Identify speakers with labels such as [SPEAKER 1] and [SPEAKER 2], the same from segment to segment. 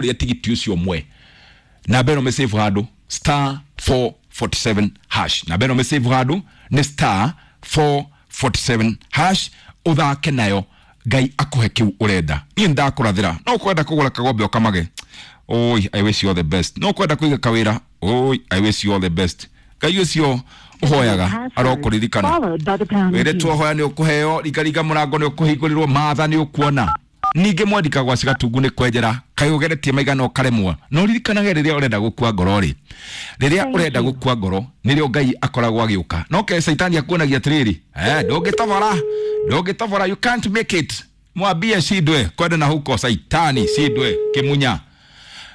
[SPEAKER 1] Wĩgũrĩre tigiti ũcio ũmwe, namba ĩno mĩsave handũ, star 447 hash. Namba ĩno mĩsave handũ nĩ star 447 hash, ũthake nayo, Ngai akũhe kĩu ũrenda. Niĩ nĩndakũrathĩra, no kwenda kũgũra kagombe ũkamage, oi, I wish you all the best. No kwenda kũiga kawĩra, oi, I wish you all the best. Ngai ũcio ũhoyaga arokũririkana.
[SPEAKER 2] Followed by the pound
[SPEAKER 1] wĩrĩ
[SPEAKER 2] key.
[SPEAKER 1] Twohoya nĩ ũkũheo, ringaringa mũrango nĩ ũkũhingũrĩrwo, matha nĩ ũkuona. Ningĩ mwandika gwa cigatungu nĩ kwenjera kaĩ ũgeretie maigana ũkaremwo, no ririkanage rĩrĩa ũrenda gũkua ngoro rĩ, rĩrĩa ũrenda gũkua ngoro nĩrĩo Ngai akoragwo agĩũka. No ke caitani akuonagia atĩrĩrĩ, eh, ndũngĩtobora, ndũngĩtobora, you can't make it. Mwambie shindwe kwenda na huko saitani shindwe kimunya.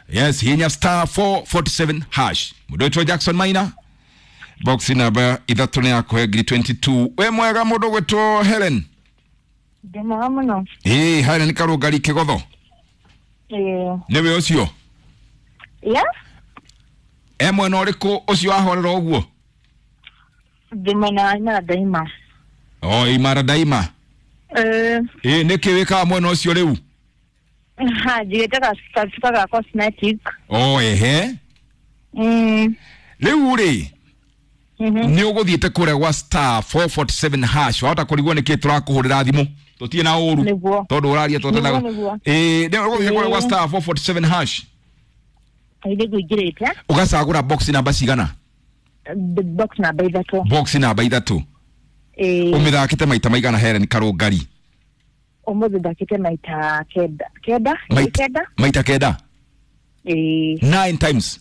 [SPEAKER 1] Yes, hinya star 447 hash. Mũndũ wĩtwo Jackson Maina, box namba 3 nĩ yakũhe ngiri 22. Wĩ mwega, mũndũ gwĩtwo Helen?
[SPEAKER 3] Ndĩ mwega mũno.
[SPEAKER 1] Ĩĩ, Helen Karũngari Kĩgotho?
[SPEAKER 3] Ĩĩ.
[SPEAKER 1] Nĩwe ũcio?
[SPEAKER 3] Ya.
[SPEAKER 1] E mwena ũrĩkũ ũcio ahorera ũguo?
[SPEAKER 3] Ndĩ mwena wa Imara Daima.
[SPEAKER 1] O Imara Daima?
[SPEAKER 3] Ĩĩ.
[SPEAKER 1] Ĩĩ, nĩkĩ wĩkaga mwena ũcio rĩu?
[SPEAKER 3] Ha, njigĩte gacuka ga cosmetic.
[SPEAKER 1] O ehe. Rĩu rĩ, nĩ ũgũthiĩte kũrĩa gwa star 447 hash, wahota kũrigwo nĩkĩ tũrakũhũrĩra thimũ, tũtirĩ na ũru.
[SPEAKER 3] Nĩguo.
[SPEAKER 1] Tondũ ũraria tũtendaga.
[SPEAKER 3] Nĩguo, nĩguo.
[SPEAKER 1] Ĩĩ, nĩ ũgũthiĩ kũrĩa gwa
[SPEAKER 3] Ĩĩ.
[SPEAKER 1] star 447 hash.
[SPEAKER 3] Kaingĩ ngũingĩrĩte.
[SPEAKER 1] Ũgacagũra box namba cigana?
[SPEAKER 3] Box namba 3.
[SPEAKER 1] Box namba 3.
[SPEAKER 3] Ĩĩ.
[SPEAKER 1] Ũmĩthakĩte maita maigana, Helen Karũngari?
[SPEAKER 3] Ũmũthĩ ndakĩte maita kenda. Kenda? Ĩĩ, kenda?
[SPEAKER 1] Maita kenda?
[SPEAKER 3] Ĩĩ.
[SPEAKER 1] Nine times?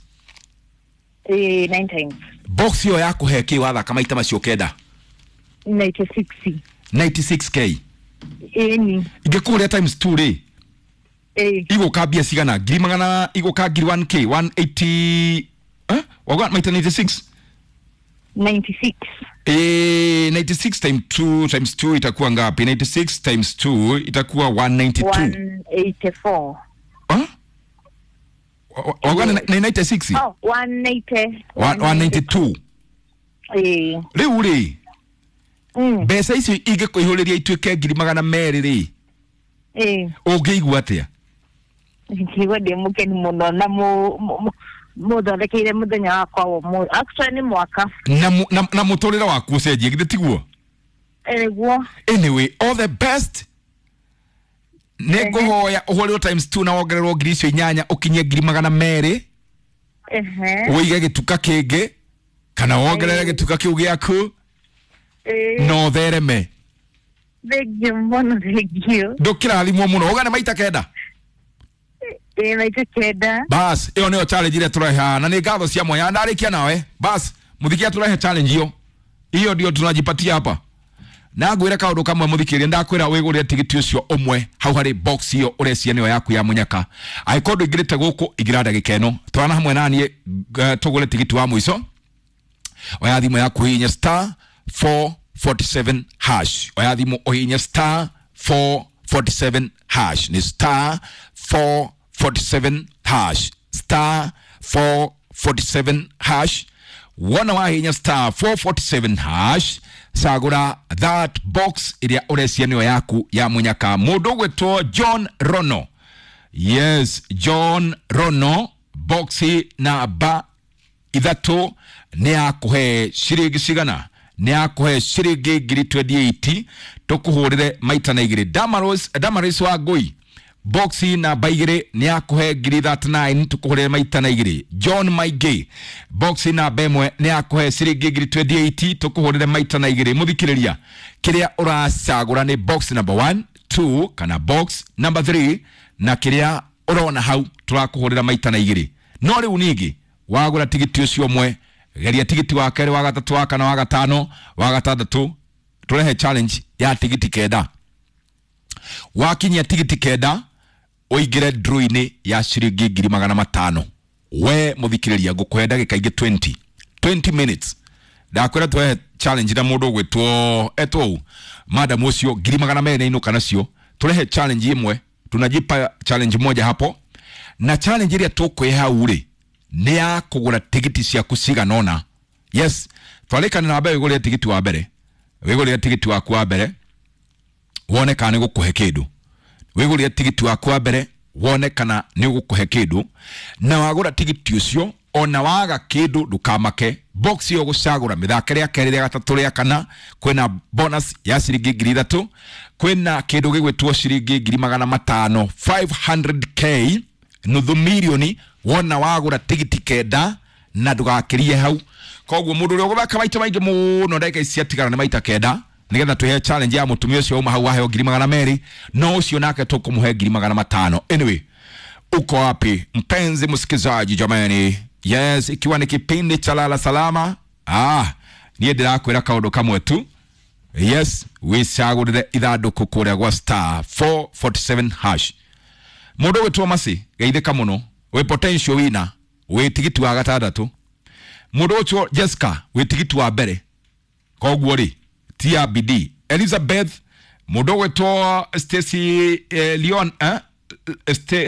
[SPEAKER 3] Ĩĩ, nine times.
[SPEAKER 1] Box ĩyo yakũhe kĩ wathaka maita macio kenda?
[SPEAKER 3] 96.
[SPEAKER 1] 96K?
[SPEAKER 3] Ĩni.
[SPEAKER 1] Ingĩkũrĩa times 2 rĩ?
[SPEAKER 3] Ĩĩ.
[SPEAKER 1] Igũka mbia cigana, ngiri magana, igũka ngiri 1K 180, eh? Wauga maita 96?
[SPEAKER 3] 96.
[SPEAKER 1] 96 times 2, times 2 itakuwa ngapi? 96 times 2 itakuwa 192.
[SPEAKER 3] 184.
[SPEAKER 1] Huh? Wauga nĩ 96?
[SPEAKER 3] Oh, 180.
[SPEAKER 1] 192.
[SPEAKER 3] Ĩĩ.
[SPEAKER 1] Rĩu rĩ, mbeca icio ingĩkũihũrĩria ituĩke 200,000 rĩ,
[SPEAKER 3] Ĩĩ.
[SPEAKER 1] ũngĩigua atĩa?
[SPEAKER 3] Ngigua ndĩ mũkenu mũno na mũthondekeire mũthenya wakwa wa ũmũthĩ. Actually nĩ mwaka.
[SPEAKER 1] Na mũtũrĩre waku ũcenjie, githĩ tiguo?
[SPEAKER 3] Nĩguo.
[SPEAKER 1] Anyway, all the best. Nĩ ngũhoya ũhũrĩrwo times 2 na wongererwo ngiri icio inyanya, ũkinyie 200,000. Ũige gĩtuka kĩngĩ kana wongerere gĩtuka kĩu gĩaku na ũthereme.
[SPEAKER 3] Thank you mũno, thank you.
[SPEAKER 1] Ndũkĩrathimwo mũno. Ũgane maita kenda?
[SPEAKER 3] Ĩĩ, maita kenda.
[SPEAKER 1] Bas, ĩyo nĩyo challenge ĩrĩa tũrehe haha, na nĩ ngatho cia mwanya. Ndarĩkia nawe, bas mũthikia, tũrehe challenge hiyo, hiyo ndio tunajipatia hapa. Na ngwĩre kaũndũ kamwe, mũthikĩrĩria, ndakwĩra wĩgũrĩre tigiti ũcio ũmwe hau harĩ box ĩyo ũrecia nĩyo yaku ya mũnyaka. Angĩkorwo ndũingĩrĩte gũkũ, ingĩra ndagĩka ĩno, twarana hamwe naniĩ, tũgũre tigiti wa mũico. Oya thimũ yaku, hihinya star 447 hash. Oya thimũ, ũhihinye star 447 hash, nĩ star 447 hash, star 447 hash. Wona wahihinya star 447 hash, cagũra that box ĩrĩa ũrecia nĩyo yaku ya mũnyaka. Mũndũ ũgwĩtwo John Rono, yes, John Rono, box namba 3 nĩ yakũhe ciringi cigana? Nĩ yakũhe ciringi ngiri 28, tũkũhũrĩre maita na igĩrĩ. Damaris, Damaris wa Ngũi, box namba 2 nĩ yakũhe ngiri 39, tũkũhũrĩre maita na igĩrĩ. John Maingĩ, box namba 1 nĩ yakũhe ciringi ngiri 28, tũkũhũrĩre maita na igĩrĩ. Mũthikĩrĩria, kĩrĩa ũracagũra nĩ box number 1, 2 kana box number 3, na kĩrĩa ũrona hau tũrakũhũrĩra maita na igĩrĩ. No rĩu ningĩ wagũra tigiti ũcio ũmwe, geria tigiti wa kerĩ, wa gatatũ, wa kana, wa gatano, wa gatandatũ. Tũrehe challenge ya tigiti kenda. Wakinyia tigiti kenda, ũingĩre draw-inĩ ya ciringi 500,000. We mũthikĩrĩria, ngũkũhe ndagĩka ingĩ 20, 20 minutes. Ndakwĩra tũrehe challenge na mũndũ ũgwĩtwo etwo ũ, madam ũcio 200,000 nĩ nacio. Tũrehe challenge ĩmwe, tunajipa challenge moja hapo, na challenge ĩrĩa tũkwĩhe hau rĩ, nĩ ya kũgũra tigiti ciaku cigana ũna. Yes, twarĩkanĩra na mbere, wĩgũrĩre tigiti wa mbere, wĩgũrĩre tigiti waku wa mbere, wone kana nĩ gũkũhe kĩndũ. Wĩgũrĩre tigiti waku wa mbere. Wone kana nĩ ũgũkũhe kĩndũ. Na wagũra tigiti ũcio, ona waga kĩndũ ndũkamake. Box ĩyo gũcagũra mĩthake rĩa kerĩ, rĩa gatatũ, rĩa kana, kwĩna bonus ya ciringi 3,000, kwĩna kĩndũ gĩgwĩtwo ciringi 500,000, 500K, nuthu milioni, wona wagũra tigiti 9 na ndũgakĩrie hau. Koguo mũndũ ũrĩa ũgũthaka maita maingĩ mũno ndagĩka ici ciatigara nĩ maita 9, nigetha tuhe challenge ya mũtumia ũcio uma hau aheo 200,000, no ũcio nake tũkũmũhe 500,000. Anyway, uko wapi mpenzi msikizaji? Jamani, yes, ikiwa ni kipindi cha Lala Salama, niĩ ndĩrakwĩra kaũndũ kamwe tu. Yes, wĩcagũrĩre ithandũkũ kũrĩa gwa star 447 hash. Mũndũ ũgwĩtwo Masi, geithĩka mũno, wĩ potential winner, wĩ tigiti wa gatandatũ. Mũndũ ũgwĩtwo Jessica, wĩ tigiti wa mbere, koguo rĩ tia bidii. Elizabeth, mũndũ ũgwĩtwo Stacy, Leon,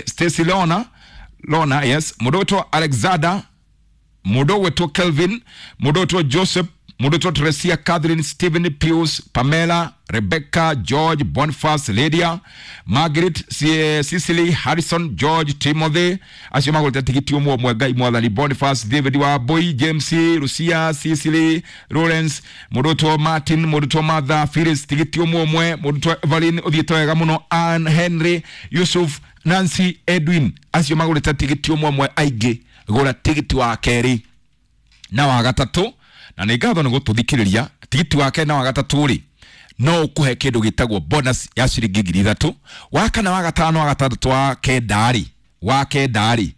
[SPEAKER 1] Stacy Leona Lona, yes, mũndũ ũgwĩtwo Alexander, mũndũ ũgwĩtwo Kelvin, mũndũ ũgwĩtwo Joseph, mũndũ ũgwĩtwo Teresia, Catherine, Stephen, Pius, Pamela, Rebecca, George, Boniface, Lydia, Margaret, Cicely, Harrison, George, Timothy, acio magũrĩte tigiti ũmwe ũmwe. Ngai Mwathani, Boniface, David wa Boy, James, Lucia, Cicely, Lawrence, mũndũ ũgwĩtwo Martin, mũndũ ũgwĩtwo Martha, Phyllis, tigiti ũmwe ũmwe, mũndũ ũgwĩtwo Evelyn, ũthiĩte wega mũno, Ann, Henry, Yusuf, Nancy, Edwin, acio magũrĩte tigiti ũmwe ũmwe aingĩ. Gũra tigiti wa kerĩ na wa gatatũ, na nĩ ngatho nĩ gũtũthikĩrĩria. Tigiti wa kerĩ na wa gatatũ rĩ, no ũkũhe kĩndũ gĩtagwo bonus ya ciringi 3,000. Wa kana, wa gatano, wa gatandatũ, wa kenda rĩ, wa kenda rĩ,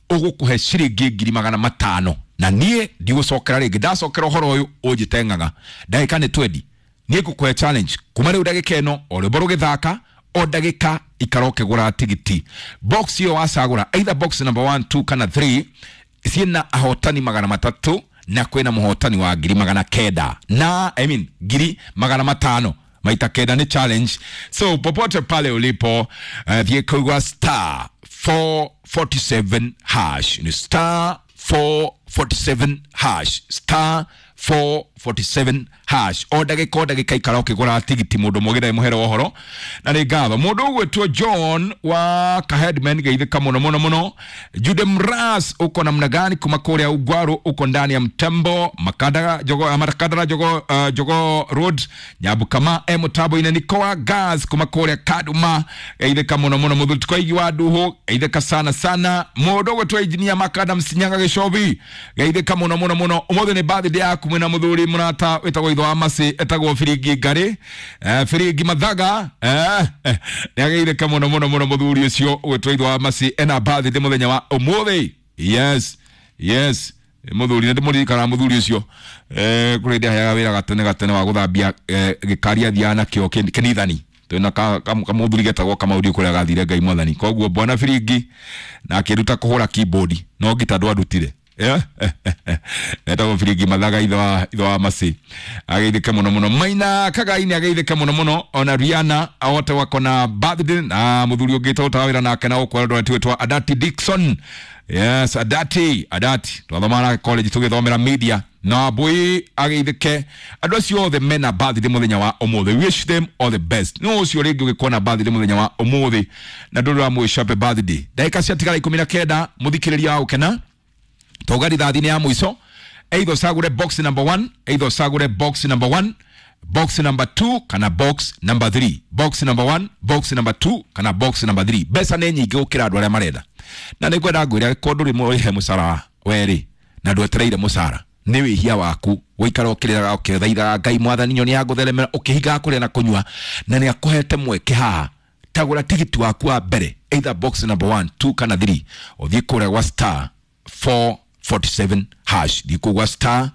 [SPEAKER 1] ũgũkũhe ciringi 500,000. Na niĩ ndigũcokera rĩngĩ, ndacokera ũhoro ũyũ ũnjĩte ng'ang'a. Ndagĩka nĩ 20, niĩ ngũkũhe challenge kuma rĩu ndagĩka ĩno, o rwĩmbo rũgĩthaka, o ndagĩka ikara ũkĩgũra tigiti. Box ĩyo wacagũra, either box number 1, 2 kana 3, ciĩna ahotani 300 na kwĩna mũhotani wa 900,000 na, I mean, 500,000 maita 9 nĩ challenge. So popote pale ulipo, thiĩ kũigua star 447 hash, ni star 447 hash, star 447 hash. O ndagĩka, o ndagĩka ikara ũkĩgũra tigiti. Mũndũ mũgĩre mũhero ũhoro na nĩ ngatho. Mũndũ ũgwĩtwo John wa Kaheadman, geithĩka mũno mũno mũno. Jude Mras, uko namna gani kuma kũrĩa Ugwaru? Uko ndani ya mtembo Makadara Jogo, Makadara Jogo, Jogo Road, Nyabukama e mũtambo-inĩ. Nikoa Gas kuma kũrĩa Kaduma, geithĩka mũno mũno. Mũthutiko igi wa Nduhu, geithĩka sana sana. Mũndũ ũgwĩtwo Engineer Makadam Sinyaga Gĩcobi, geithĩka mũno mũno mũno. Ũmũthĩ nĩ birthday yaku mwĩna mũthuri mũrata wĩtagwo itho wa Masi, etagwo Biringi Ngarĩ, Biringi Mathaga, nĩ ageithĩka mũno mũno mũno. Mũthuri ũcio ũgwĩtwo itho wa Masi ena birthday mũthenya wa ũmũthĩ. Yes, yes, mũthuri nĩ ndĩmũririkanaga mũthuri ũcio, kũrĩ hĩndĩ aheaga wĩra gatene gatene wa gũthambia gĩkari athiaga nakĩo kĩnithani. Twĩna kamũthuri getagwo Kamauri kũrĩa gathire Ngai Mwathani. Koguo bwana Biringi na akĩruta kũhũra keyboard, no ngita ndwandutire. Yeah? Etagwo Biringi Mathaga, ithe wa Masi, ageithĩke mũno mũno. Maina Kagaini ageithĩke mũno mũno, ona Rihanna ahote wako na birthday, na mũthuri ũngĩ tũrutaga wĩra nake na gũkũ Eldoret wĩtwa Adati Dickson. Yes, Adati, Adati twathoma nake college tũgĩthomera media, na Mbui ageithĩke. Andũ acio othe mena birthday mũthenya wa ũmũthĩ, wish them all the best. No ũcio rĩngĩ ũgĩkorwo na birthday mũthenya wa ũmũthĩ na ndũrĩ wa happy birthday. Ndagĩka ciatigara 19, mũthikĩrĩria wa gũkena, toga rithathi-inĩ ya mũico. Either ũcagũre box number 1, either ũcagũre box number 1, box number 2 kana box number 3. Box number 1, box number 2 kana box number 3. Mbeca nĩ nyingĩ gũkĩra andũ arĩa marenda, na nĩ ngwenda ngwĩre, angĩkorwo ndũrĩ mũrĩhe mũcara werĩ na ndwetereire mũcara, nĩ wĩhia waku gũikara ũkĩrĩraga ũkĩthaithaga Ngai Mwathani nyoni ya gũtheremera, ũkĩhingaga kũrĩa na kũnyua, na nĩ akũhete mweke haha. Tagũra tigiti waku wa mbere, either box number 1, 2 kana 3, ũthiĩ kũrĩa gwa star 447 hash. Thiĩ kũu gwa star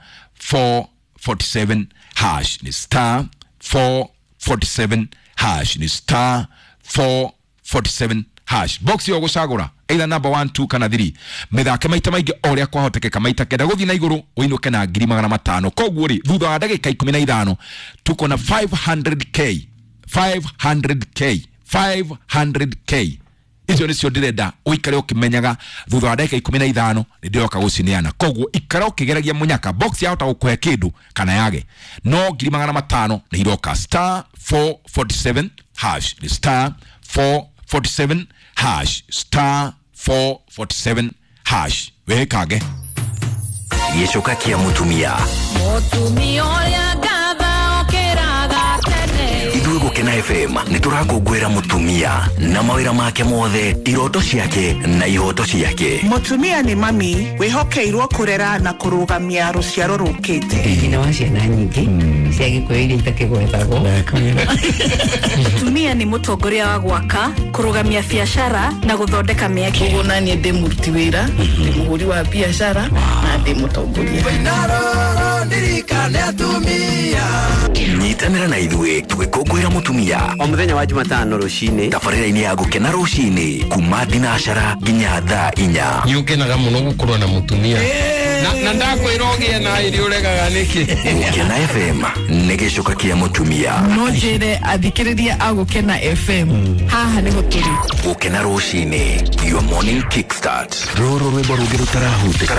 [SPEAKER 1] 447 hash, ni star 447 hash, ni star 447 hash. Box yo gũcagũra, either number 1, 2 kana 3, mĩthake maita maingĩ o ũrĩa kwahotekeka, maita 9 gũthiĩ na igũrũ, ũinũke na 500,000. Koguo rĩ, thutha wa ndagĩka 15 tuko na 500K, 500K, 500K. Icio nĩcio ndĩrenda ũikare ũkĩmenyaga, thutha wa ndagĩka 15 nĩ ndĩroka gũcineana. Koguo ikara ũkĩgeragia mũnyaka, box yahota gũkũhe kĩndũ kana yage, no 500,000 nĩ iroka. Star 447 hash, nĩ star 447. hash, star 447 hash. Wĩkange.
[SPEAKER 2] Gĩcoka kĩa mũtumia.
[SPEAKER 4] Mũtumia ũrĩa ngatha okĩraga tene.
[SPEAKER 2] Ithuĩ Gũkena FM nĩ tũrakũngũĩra mũtumia na mawĩra make mothe, iroto ciake na ihoto ciake.
[SPEAKER 5] Mũtumia nĩ mami wĩhokeirwo kũrera na kũrũgamia rũciaro rũkĩte.
[SPEAKER 6] Nyina wa ciana nyingĩ cia gĩkũyũ iria itakĩgwetagwo.
[SPEAKER 7] Mũtumia nĩ mũtongoria wa gwaka, kũrũgamia biacara na gũthondeka mĩeke.
[SPEAKER 8] Koguo naniĩ ndĩ mũruti wĩra, ndĩ mũhũri wa biacara na ndĩ mũtongoria.
[SPEAKER 2] Nyitanĩra na ithuĩ tũgĩkũngũĩra mũtumia
[SPEAKER 6] o mũthenya wa Jumatano rũcinĩ
[SPEAKER 2] tabarĩra-inĩ ya Gũkena rũcinĩ kuma thinacara nginya thaa 4.
[SPEAKER 9] Nĩ ũkenaga mũno gũkorwo na mũtumia na ndakwĩra ũgĩe na irio ũregaga nĩkĩ.
[SPEAKER 2] Gũkena FM nĩ gĩcoka kĩa mũtumia.
[SPEAKER 8] No njĩre athikĩrĩria a Gũkena FM haha nĩho tũrĩ.
[SPEAKER 2] Gũkena rũcinĩ, your morning kickstart. Rũrũ rwĩmbo rũngĩ rũtarahutĩka.